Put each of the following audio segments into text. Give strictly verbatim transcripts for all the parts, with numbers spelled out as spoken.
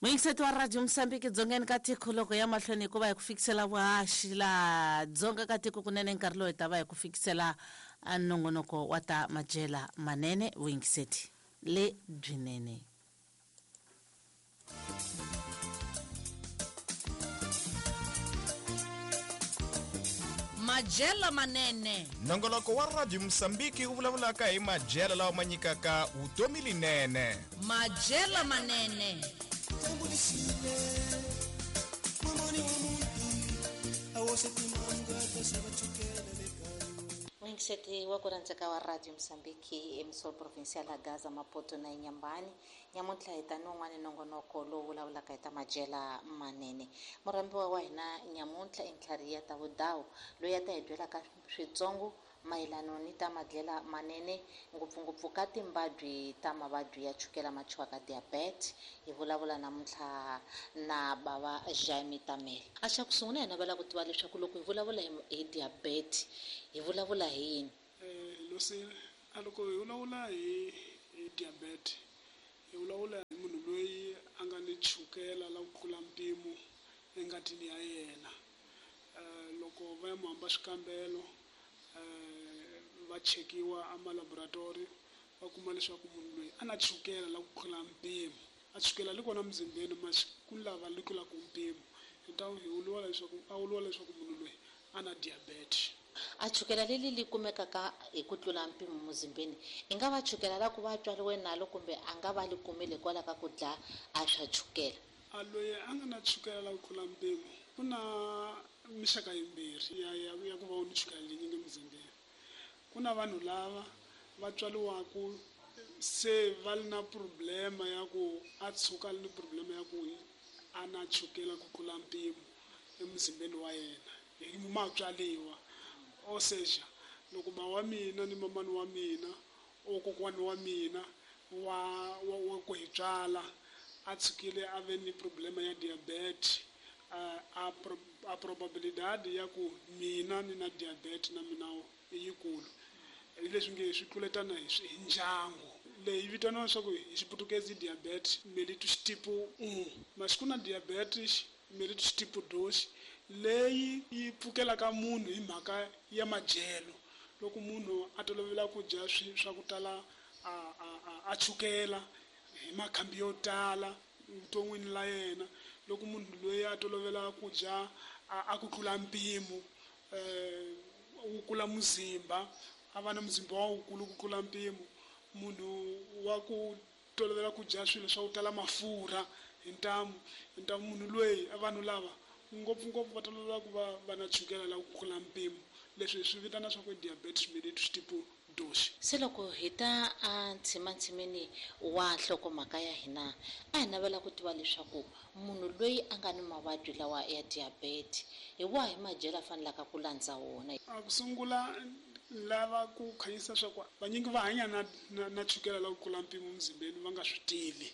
Muyingiseti wa Radio Mozambique dzongeni ka tiko loko ya mahlweni hikuva hi ku fikisela vuhaxi laha dzonga ka tiko kunene nkarhi lowu hi ta va hi ku fikisela nongonoko wa ta madyela manene vuyingiseti le byinene. Madyela manene. Nongonoko wa Radio Mozambique wu vulavulaka hi madyela lawa ma nyikaka vutomi linene. Madyela manene. Muyingiseti wa ku rhandzeka wa Radio Mozambique emisol provincial ya Gaza Maputo na Inhambane nyamuntlha hi ta ni wun'wana nongonoko lowu vulavulaka hi ta madyela manene. Murhambiwa wa hina nyamuntlha i Ntlhari ya ta Vudawu loyi a ta hi byelaka switsongo mayelano ni ta madyela manene ngopfungopfu ka timbabyi ta mavabyi ya chukela ma thyiwaka diabetes. Hi vulavula namuntlha na bava Jaime Tamele. A xa ku sungula hi navela ku tiva leswaku loko hi vulavula hi diabetes hi vulavula hi yini? Eh losi a loko hi vulavula hi hi diabetes hi vulavula hi munhu loyi a nga ni chukela la ku tlula mpimo engatini ya yena. Eh loko va ya mu hamba swikambelo va chekiwa a laboratory va kuma leswaku munhu loyi a na chukela la ku tlula mpimo a chukela li kona muzimbeni mas ku lava li tlulaka mpimo hi ta hi vuriwa leswaku a vuriwa leswaku munhu loyi a na diabetes. A chukela leli li kumekaka hi ku tlula mpimo muzimbeni i nga va chukela la ku va tswariwe nalo kumbe a nga va li kumile hikwalaho ka ku dla a swa chukela? A loyi a nga na chukela la ku tlula mpimo ku na mixaka yimbirhi ya ya ya ku va u ni chukela leyinyingi emuzimbeni. Ku na vanhu lava va tswariwaka se va ri na problema ya ku a tshuka li ni problema ya ku a na chukela ku tlula mpimo emuzimbeni wa yena hi matswaliwa. Ou seja, loko ba wa mina ni mamani wa mina o kokwani wa mina wa wa, wa ku hi tswala a tshukile a ve ni problema ya diabetes a a, a probabilidade ya ku mina ni na diabetes na mina i yikulu. Hi leswi nge swi tluletana hi hi ndyangu leyi vitaniwa leswaku hi xiputukezi diabetes mellitus tipo un mas ku na diabetes mellitus tipo dos leyi yi pfukelaka munhu hi mhaka ya madyelo. Loko munhu a tolovela ku dya swi swa ku tala a a a chukela hi makhambi yo tala vuton'wini la yena, loko munhu loyi a tolovela ku dya a ku tlula mpimo eh wu kula muzimba a va na muzimba wa wukulu ku tlula mpimo, munhu wa ku tolovela ku dya swilo swa ku tala mafurha hi ntamu hi ntamu munhu loyi vanhu lava ngopfungopfu va tolovela ku va va na chukela la ku tlula mpimo leswi hi swi vitana swa ku diabetes mellitus tipo dos. Se loko hi ta a ntshimantshinini wa nhlokomhaka ya hina a hi navela ku tiva leswaku munhu loyi a nga ni mavabyi lawa ya diabetes hi wahi madyelo a fanelaka ku landza wona? A ku sungula lava ku khanyisa swa ku vanyingi va hanya na na, na chukela la ku tlula mpimo muzimbeni va nga swi tivi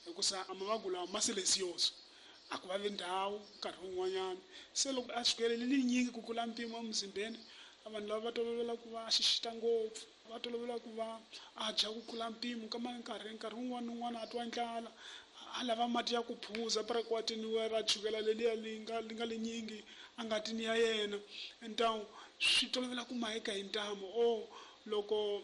hikusa a mavabyi lawa ma silencioso a ku vavi ndhawu nkarhi wun'wanyana. Se loko a chukele linyingi ku tlula mpimo emuzimbeni vanhu lava va tolovela ku va a xixita ngopfu va tolovela ku va a dya ku tlula mpimo ka nkarhi nkarhi wun'wana na wun'wana a twa ndlala a lava mati ya ku phuza parakwatini wa ra chukela leliya li nga li nga linyingi a ngatini ya yena ntamu swi tolovela ku maheka hi ntamu o loko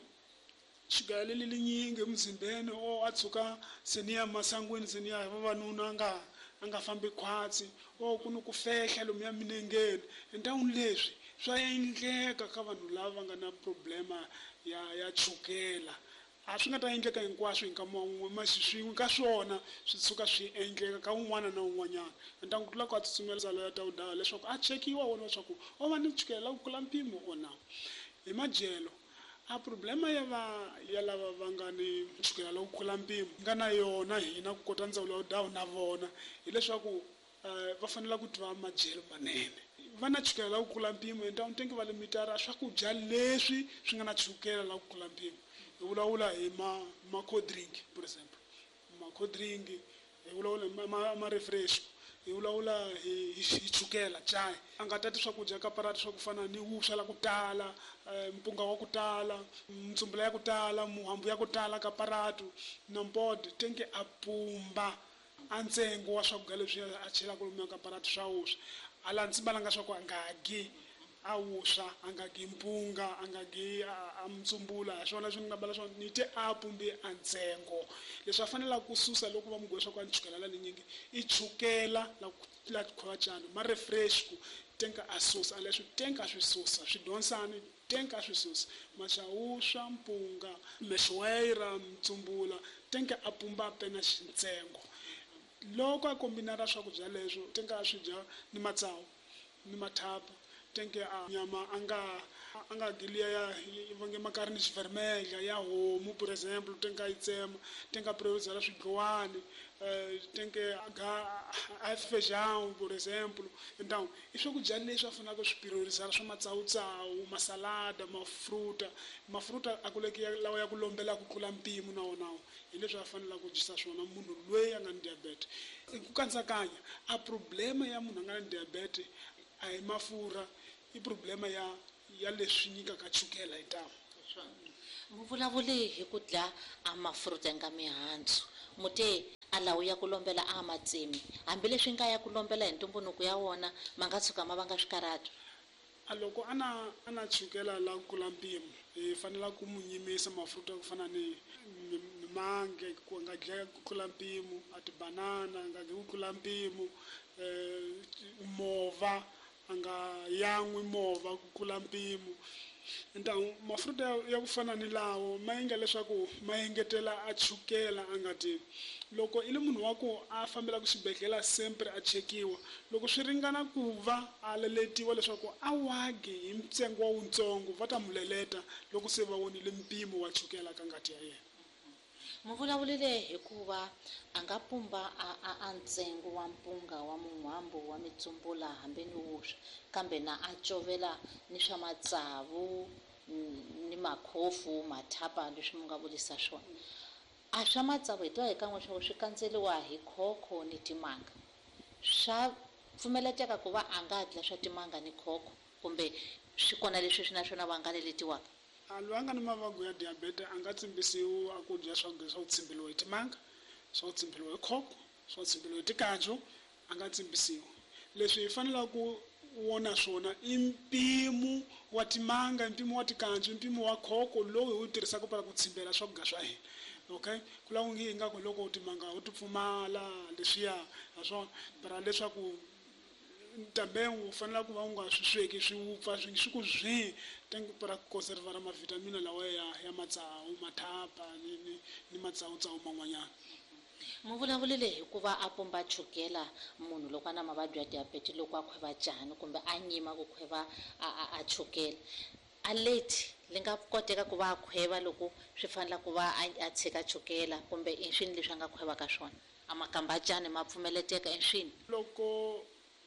chukela leli linyingi emuzimbeni o a tshuka se ni ya masangwini se ni ya hi vavanuna a nga a nga fambi khwatsi o ku ni ku fehla lomuya minengeni ntamu leswi swa endleka ka vanhu lava va nga na problema ya ya chukela. A swi nga ta endleka hinkwaswo hi nkama wun'we masi swin'we ka swona swi tshuka swi endleka ka un'wana na un'wanyana. Ntangu ku tlula ku a tsutsumela ndzalo ya Tawudawu leswaku a chekiwa wona leswaku o va ni chukela la ku tlula mpimo or na. Hi madyelo a problema ya va ya lava va nga ni chukela la ku tlula mpimo nga na yona hina ku kota ndzawulo ya Vudawu na vona hileswaku va fanele ku tiva madyelo manene. Va na chukela la ku tlula mpimo hi ntamu tengi va limitara swakudya leswi swi nga na chukela la ku tlula mpimo. Hi vulavula hi ma ma cold drink for example ma cold drink hi vulavula hi ma ma refresh hi vulavula hi hi chukela chai a nga tati swakudya ka parati swa ku fana ni vuswa la ku tala mpunga wa ku tala mtsumbula ya ku tala muhambu ya ku tala ka paratu na mbode tengi a pumba A ntsengo wa swakudya leswi a chelaka lomuya ka parati swa vuswa a la ndzi balanga swa ku a nga gi a vuswa a nga gi mpunga a nga gi a mutsumbula hi swona leswi ni nga bala swona ni te a pumbi a ntsengo. Leswi a fanelaka ku susa loko va mu swa ku a ni chukela la linyingi i chukela la la khwacana ma refresh ku tenka a susa a leswi tenka a swi susa swi tenka a swi susa maxawuswa mpunga mexwera mutsumbula tenka a pumba pena xintsengo. Loko a kombinara swakudya leswo tenka a swi dya ni matsawu ni mathapa tenke a nyama a nga a nga giliya ya vange makarhi ni xivermedla ya homu por exemple tenka yi tsema tenka priorizela swidlowani tenke a ga a feijão por exemple. Então i swakudya leswi a faneleke swi priorizela swa matsawutsawu masalada mafruta mafruta a kuleki lawa ya ku lombela ku tlula mpimo na wona hi leswi a faneleke ku dyisa swona munhu loyi a nga ni diabetes. Ku katsakanya a problema ya munhu a nga ni diabetes a hi mafurha i problema ya ya leswi nyikaka chukela hi ntamu. Mu vulavule hi ku dla a mafruta nga mihandzu mute a lawu ya ku lombela a matsemi hambileswi nga ya ku lombela hi ntumbuluko ya wona ma nga tshuka ma vanga swikarhato. A loko a na a na chukela la ku tlula mpimo hi fanela ku mu nyimisa mafruta ku fana ni mimange ku nga dlaya ku tlula mpimo a tibanana nga dyi ku tlula mpimo mova a nga yan'wi movha ku tlula mpimo. Então mafruta ya ku fana ni lawo ma endla leswaku ma engetela a chukela a nga ti. Loko i le munhu wa ku a fambelaka xibedhlele sempre a chekiwa loko swi ringana ku va a leletiwa leswaku a wagi hi ntsengo wa wutsongo va ta mu leleta loko se va vonile mpimo wa chukela ka ngati ya yena. Mu vulavulile hikuva a nga pumba a a a ntsengo wa mpunga wa mun'wambu wa mitsumbula hambi ni wuswa kambe na a covela ni swa matsavu ni makhofu mathapa leswi mu nga vulisa swona. A swa matsavu hi twa hi kan'we swa ku swi kandzeriwa hi khokho ni timanga swa pfumeleteka ku va a nga dla swa timanga ni khokho kumbe swi kona leswi swi na swona va nga leletiwaka. A loyi a nga ni mavabyi ya diabetes a nga tsimbisiwi a ku dya swakudya swa ku tsimbeliwa hi timanga swa ku tsimbeliwa hi khokho swa ku tsimbeliwa hi tikanju a nga tsimbisiwi. Leswi hi fanelaka ku wona swona i mpimo wa timanga mpimo wa tikanju mpimo wa khokho lowu hi wu tirhisaka para ku tsimbela swakudya swa hina. Okay ku lava ngi ingaku loko timanga u ti pfumala leswiya ha swona para leswaku também u fanele ku va u nga swi sweki swi wupfa swi swi ku zwi tenke para ku conservar mavitamina lawa ya ya matsawu mathapa ni ni ni matsawutsawu man'wanyana. Mu vulavulile hikuva a pumba chukela munhu loko a na mavabyi ya diabetes loko a khweva cani kumbe a nyima ku khweva a a a chukela a late li nga koteka ku va a khweva loko swi fanela ku va a tshika chukela kumbe i swini leswi a nga khwevaka swona a makamba cani ma pfumeleteka i swini. Loko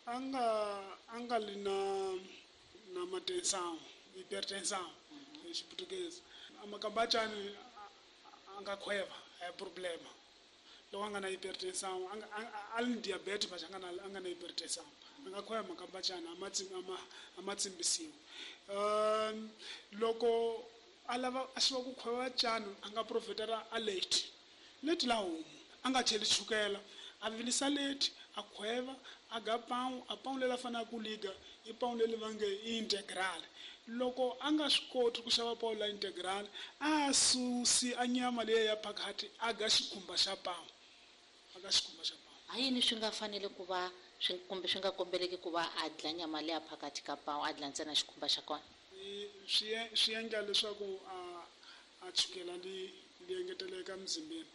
a nga a nga li na na matensão hypertensão hi xiputukezi a makamba cani a nga khweva a hi problema. Loko a nga na hypertensão a a li ni diabetes mas a nga na a nga na hypertensão a nga khweva makamba cani a ma a ma a ma tsimbisiwi. Um loko a lava a xiva ku khweva cani a nga profitela a late late la homu a nga cheli chukela a vilisa late a khweva a ga pão a pão leri a fanelaka ku liga i pão leri va nge i integral. Loko a nga swi koti ku xava pão la integral a susi a nyama leyi ya phakathi a ga xikhumba xa pão a ga xikhumba xa pão. Ha yini swi nga fanele ku va swi kumbe swi nga kombeleki ku va a dla nyama leya phakathi ka pão a dla ntsena xikhumba xa kona? Swi swi endla leswaku a a chukela li li engeteleka mzimbeni.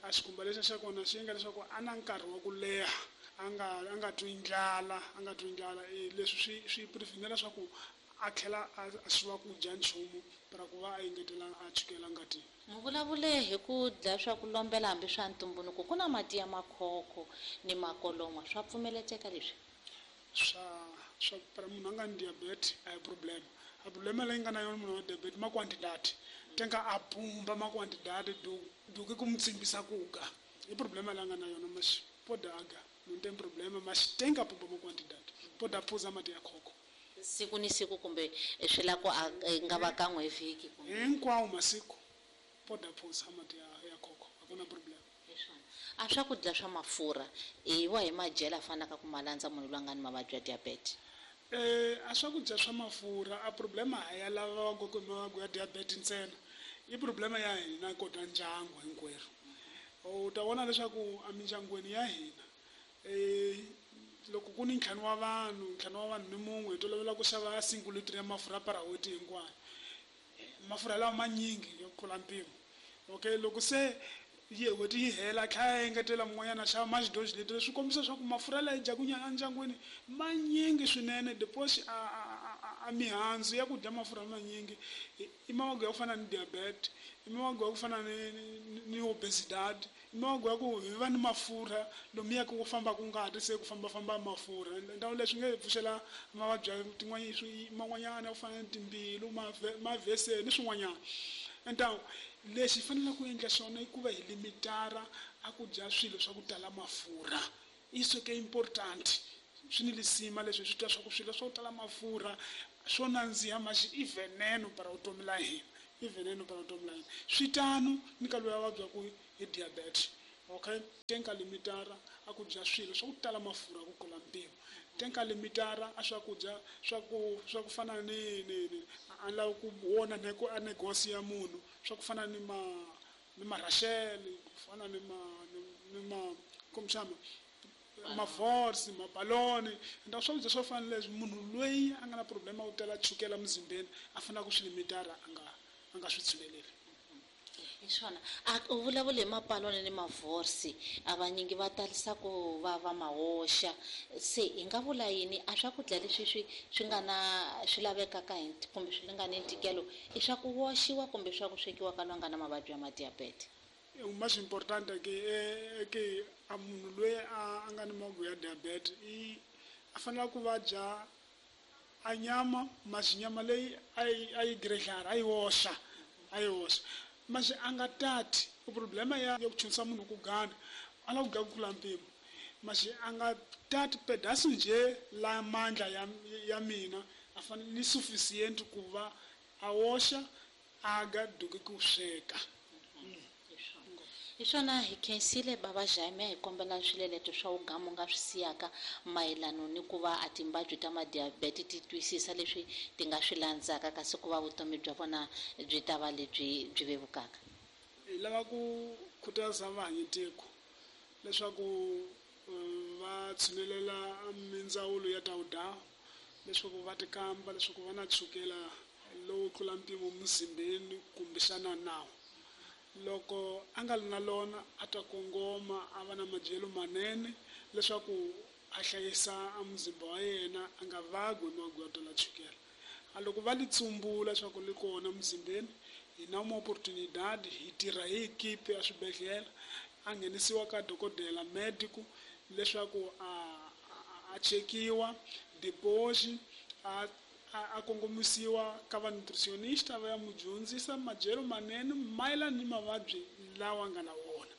A xikhumba lexa xa kona xi endla leswaku a na nkarhi wa ku leha a nga a nga twi ndlala a nga twi ndlala leswi swi swi prevenela leswaku a tlhela a xiva ku dya nchumu para ku va a engetela a chukela ngatini. Mu vulavule hi ku dlaya swa ku lombela hambi swa ntumbuluko ku na mati ya makhokho ni makolon'wa swa pfumeleteka leswi? Swa swa para munhu a nga ni diabetes a hi problem. A problema leyi nga na yona munhu wa diabetes ma quantidade tenka a pumba ma quantidade do do ke ku mu tsimbisa ku ga i problema leyi a nga na yona mas pode aga não tem problema mas tenka pumba ma quantidade pode phuza mati ya khokho siku ni siku kumbe swi la ku a nga va kan'we hi vhiki kumbe hinkwawo masiku pode phuza mati ya ya khokho a ku na problem. A swakudya swa mafurha i wa hi madyelo a fanaka ku ma landza munhu loyi a nga ni mavabyi ya diabetes? Eh a swakudya swa mafurha a problema a ya lava va ku mavabyi ya diabetes ntsena, i problema ya hina kota ndyangu hinkwerhu. U ta vona leswaku emindyangwini ya hina eh loko ku ni ntlhanu wa vanhu, ntlhanu wa vanhu ni mun'we, hi tolovela ku xava single liter ya mafurha para n'hweti hinkwayo. Mafurha lawa manyingi yo tlula mpimo. Okay, loko se yi n'hweti yi hela tlhela engetela mun'wanyana xava maxidoji leti, swi kombisa leswaku mafurha lawa yi dyaku endyangwini manyingi swinene. Deposit a a mihandzu ya ku dya mafurha manyingi i mavabyi ya ku fana ni diabetes, i mavabyi ya ku fana ni ni obesity, i mavabyi ya ku hi va ni mafurha lomuya ku fambaka ngati se ku fambafamba mafurha. Ndhawu leswi nge pfuxela mavabyi ya tin'wanyana man'wanyana ya ku fana ni timbilu, mavheseni ni swin'wanyana. Então lexi hi faneleke ku endla xona i ku va hi limitara a ku dya swilo swa ku tala mafurha. Isso ke important, swi ni lisima leswi hi swi twa swa ku swilo swa ku tala mafurha swo nandziha maxi i veneno para vutomi la hina, i veneno para vutomi la hina. Swi tano ni ka loyi a vabyaku hi diabetes. Okay, tenka limitara a ku dya swilo swa ku tala mafurha ku tlula mpimo. Tenka limitara a swakudya swa ku swa ku fana ni ni ni a lava ku vona ne ku a negosi ya munhu, swa ku fana ni ma ni marashele, ku fana ni ma ni ma komshama mavorsi, mabaloni. Nda swakudya swo fana leswi munhu loyi a nga na problema yo tala chukela muzimbeni a fanele ku swi limitara, a nga a nga swi tshuneleli. Hi swona a u vulavula hi mapaloni ni mavorsi, a vanyingi va talisa ku va va mahoxa. Se hi nga vula yini a swakudya leswi swi swi nga na swi lavekaka hi kumbe swi nga ni ntikelo, i swa ku woxiwa kumbe swa ku swekiwa ka loyi a nga na mavabyi ya madiabete? O mais importante é que é que a munhu loyi a nga ni mavabyi ya diabetes i a fanele ku va dya a nyama, mas nyama leyi a yi a yi grelhara, a yi oxa, a yi oxa. Mas a nga tati o problema ya ku chunisa munhu ku gana a lava ku dya ku tlula mpimo, mas a nga tati pedaço nje la mandla ya ya mina a fanele ni suficient ku va a oxa a ga duki ku sweka. Hi swona hi khensile bava Jaime, hi kombela swileleto swa wugamu nga swi siyaka mayelano ni ku va a timbabyi ta madiabete ti twisisa leswi ti nga swi landzaka kasi ku va vutomi bya vona byi ta va lebyi byi vevukaka. Hi lava ku khutaza vahanyitiko leswaku va tshunelela mindzawulo ya ta vudawu, leswaku va tikamba leswaku va na chukela lowu tlula mpimo muzimbeni kumbexana nawu. Loko a nga ri na lona a ta kongoma a va na madyelo manene leswaku a hlayisa a muzimba wa yena a nga vabyi hi mavabyi yo tala chukela. A loko va li tsumbula leswaku li kona muzimbeni, hi na uma oportunidade, hi tirha hi ekipe ya swibedhlele, a nghenisiwa ka dokodela medico leswaku a a chekiwa deposit, a a kongomisiwa ka va nutritionista va ya mu dyondzisa madyelo manene mayelana ni mavabyi lawa nga na wona.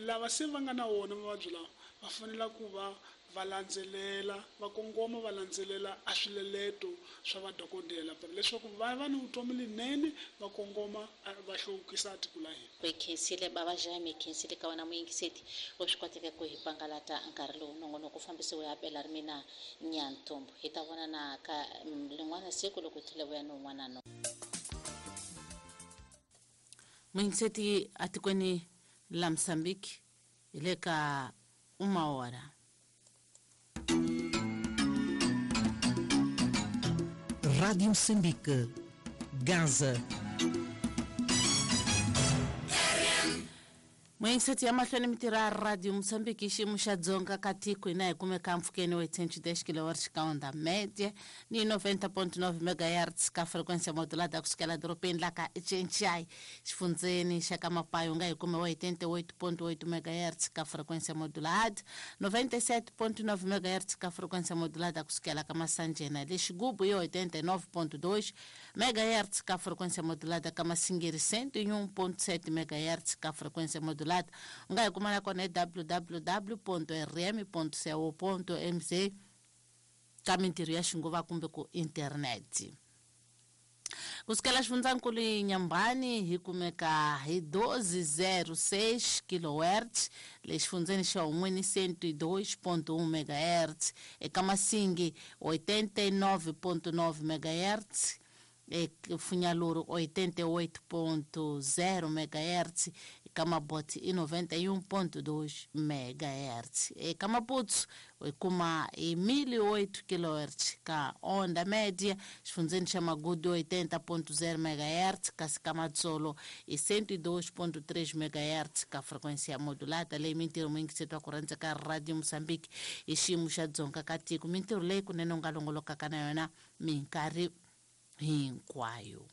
Lava se va nga na wona mavabyi lawa va fanele ku va va landzelela, va kongoma va landzelela a swileleto swa vadokodela leswaku va va ni vutomi linene, va kongoma va hluvukisa tiko la hina. Hi khensile bava Jaime, hi khensile ka wena muyingiseti u swi koteke ku hi pangalata nkarhi lowu nongonoko fambisiwe ya pela ri mina Nyantombo. Hi ta vonana ka lin'wana siku loko hi tlhela vuya ni un'wana no. Muyingiseti atikweni la Mozambique hi le ka uma hora. Rádio Moçambique, Gaza. Muyingiseti ya mahlweni mi tirha Radio Moçambique xiyimo xa Dzonga ka tiko hina hi kumeka mpfhukeni wa cento e dez kilohertz ka onda média ni noventa ponto nove megahertz ka frequência modulada kusukela dorobeni la ka Cenchai xifundzeni xa ka Mapayo nga hi kume wa oitenta e oito ponto oito megahertz ka frequência modulada, noventa e sete ponto nove megahertz ka frequência modulada kusukela ka Massanjena le Xigubu hi oitenta e nove ponto dois megahertz ka frequência modulada ka Massingiri cento e um ponto sete megahertz ka frequência modulada. U nga hi kuma na kona hi w w w ponto r m ponto co ponto m z ka mintirho ya xinguva kumbe ku internet. Kusukela xifundzankulu Inhambane hi kumeka hi doze zero seis kilohertz, le xifundzeni xa Hun'wini cento e dois ponto um megahertz, eka Masingi oitenta e nove ponto nove megahertz, Funyaluru oitenta e oito ponto zero megahertz, eka Mabote i noventa e um ponto dois megahertz. Eka Maputo hi kuma hi mil e oito kilohertz ka onda média, xifundzeni xa Magudu oitenta ponto zero megahertz, kasi ka Matsolo i cento e dois ponto três megahertz ka frequência modulada. Leyi mintirho mi yingisetwa ku rhandza ka Radio Mozambique hi xiyimo xa Dzonga ka tiko. Mintirho leyi kunene u nga longolokaka na yona minkarhi hinkwayo.